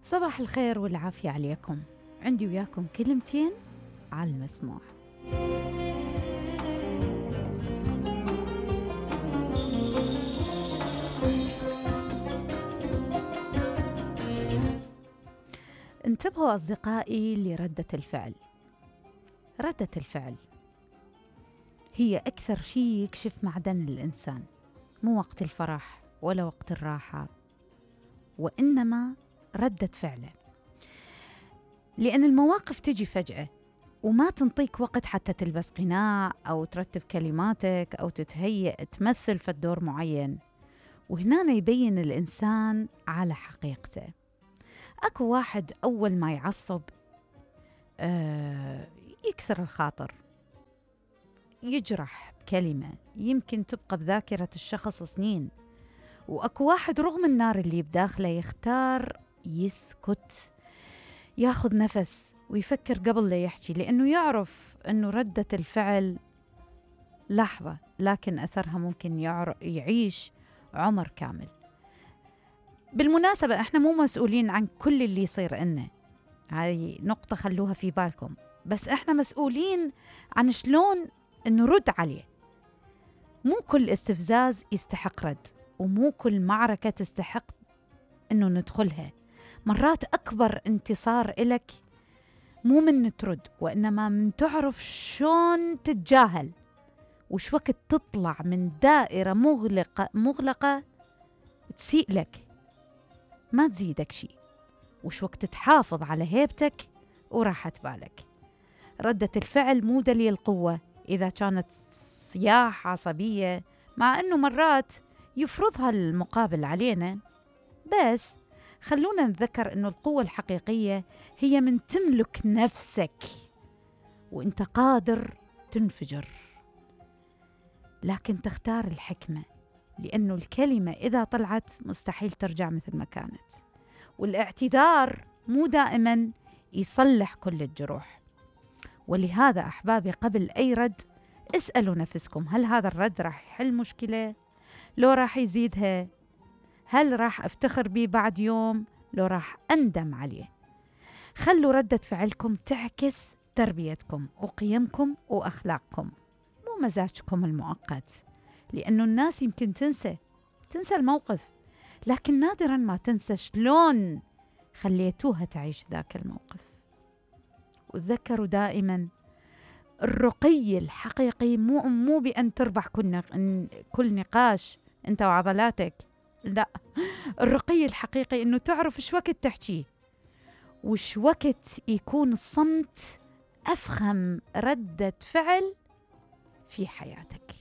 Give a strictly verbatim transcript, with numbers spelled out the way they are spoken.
صباح الخير والعافية عليكم. عندي وياكم كلمتين على المسموع. انتبهوا أصدقائي لردة الفعل. ردة الفعل هي أكثر شيء يكشف معدن الإنسان، مو وقت الفرح ولا وقت الراحة، وإنما ردة فعله. لأن المواقف تجي فجأة وما تنطيك وقت حتى تلبس قناع أو ترتب كلماتك أو تتهيئ تمثل في الدور معين، وهنا يبين الإنسان على حقيقته. أكو واحد أول ما يعصب آه يكسر الخاطر، يجرح بكلمة يمكن تبقى بذاكرة الشخص سنين، وأكو واحد رغم النار اللي بداخله يختار يسكت، ياخذ نفس ويفكر قبل لا يحكي، لأنه يعرف أنه ردة الفعل لحظة لكن أثرها ممكن يعيش عمر كامل. بالمناسبة احنا مو مسؤولين عن كل اللي يصير لنا، هاي نقطة خلوها في بالكم، بس احنا مسؤولين عن شلون نرد عليه. مو كل استفزاز يستحق رد، ومو كل معركة تستحق انه ندخلها. مرات اكبر انتصار إلك مو من ترد، وانما من تعرف شلون تتجاهل، وش وقت تطلع من دائرة مغلقة مغلقة تسيء لك ما تزيدك شيء، وش وقت تحافظ على هيبتك وراحة بالك. ردة الفعل مو دليل قوة إذا كانت صياح عصبية، مع أنه مرات يفرضها المقابل علينا، بس خلونا نذكر أنه القوة الحقيقية هي من تملك نفسك وانت قادر تنفجر، لكن تختار الحكمة، لأنه الكلمة إذا طلعت مستحيل ترجع مثل ما كانت، والاعتذار مو دائما يصلح كل الجروح. ولهذا أحبابي قبل أي رد اسألوا نفسكم، هل هذا الرد راح يحل مشكلة؟ لو راح يزيدها؟ هل راح أفتخر به بعد يوم؟ لو راح أندم عليه؟ خلوا ردة فعلكم تعكس تربيتكم وقيمكم وأخلاقكم، مو مزاجكم المؤقت، لأنه الناس يمكن تنسى تنسى الموقف، لكن نادرا ما تنسى شلون خليتوها تعيش ذاك الموقف. وتذكروا دائما الرقي الحقيقي مو مو بأن تربح كل كل نقاش أنت وعضلاتك، لا، الرقي الحقيقي إنه تعرف شو وقت تحكي وش وقت يكون الصمت أفخم ردة فعل في حياتك.